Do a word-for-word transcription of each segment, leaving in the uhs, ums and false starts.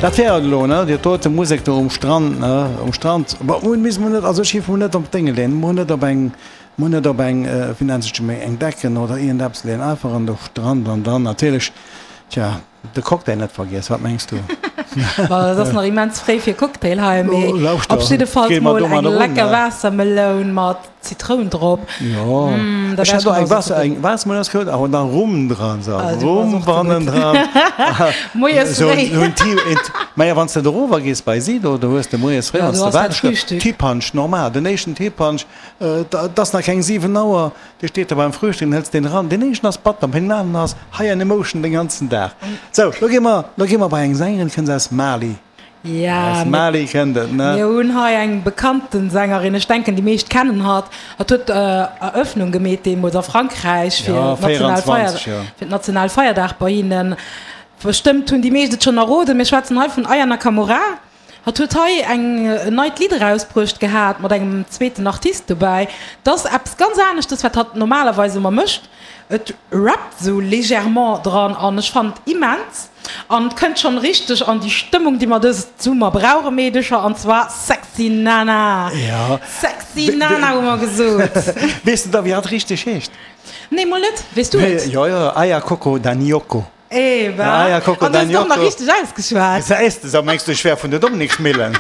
Dat wär et elo, ne? Déi dote Musek do um Strand, ne? Um Strand. Bon, mun misst mol net, also ech géif mol net op d'Dénge leeën, mol net op eng, mol net op eng, wéi nennt sech déi, eng Decken oder iergendeppes leeën, einfach an de Strand an dann natierlech, tja, de Cocktail net vergiess. Wat mengs du? Bon, et ass nach immens fréi fir Cocktail hei, mee Oh, lauschter, op jiddefalls gehe mer mol domadder eng un, lecker ne? Waassermeloun mat Zitroun drop. Jo, Mm, da ech wär hat ech och eng genauso Waasser, zefridden. eng Waassermeloun ass gutt, awer dann Rum dran, so Ah, du bass Rum och ze bannen gutt. dran. Moies So fréi. en Ti, en, maja, wann s de erover gees bei si do, do hues de moies fréi, Ja, wann s do de ass dat waardes, Frühstück. Ti-Punch, normal, den éischten Ti-Punch, et ass nach keng siwen Auer, dee steet da beim Frühstück, dann hëls deen eran, deen éischten ass batter, mä deen aneren ass high on emotion den ganzen Dag. Sou, lo gi mer, lo gi mer bei eng Sängerin, déi kënnt aus Mali. Ja, Aus Mali kënnt et, ne? Mir hunn hei eng bekannten Sängerin, ech denken déi meescht kennen hatt. Hatt huet Eröffnung gemeet deemools a Frankräich fir Ja, d'national Feier, véierundzwanzeg, jo. fir d'Nationalfeierdag bei hinnen. Bestëmmt hunn déi meescht et schonn erroden, mir schwätzen hei vun Aya Nakamura. Hatt huet hei eng en neit Lidd erausbruecht gehat mat engem zweeten Artist dobäi. 't ass eppes ganz aneschtes, wat hatt normalerweis ëmmer mécht. Et rappt sou légèrement dran an ech fannen et immens an et kënnt schonn richteg an déi Stëmmung, déi mer dëse Summer brauchen, Meedecher, an zwar Sexy Nana! Ja. Sexy Nana hu mer gesot! Weess de da wéi hatt richteg heescht? Nee, mol net. Weess du et? Jo, jo, Aya Coco Danioko. Eba, Aya Coco an du hues et och nach Danioko. richteg ausgeschwat. Gesäis de, sou mengs du ech wär vun der Dominikschmillen?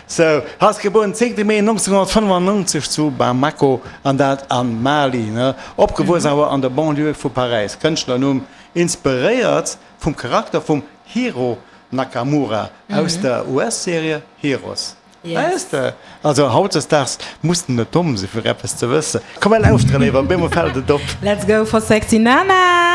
Sou, hatt gebuer den zéngte Mee nonzénghonnertfënnefannonzeg zu Bamako, an dat a Mali, ne? Opgewuess awer an der Banlieue vu Paräis. Kënschtlernumm, inspiréiert vum Charakter vum Hiro Nakamura aus der U S-Serie Heroes. Weess de? Also hautdesdaags muss de net domm sinn, fir eppes ze wëssen. Komm, mir lauschteren ewer, op eemol fält et op. Let's go for sexy Nana!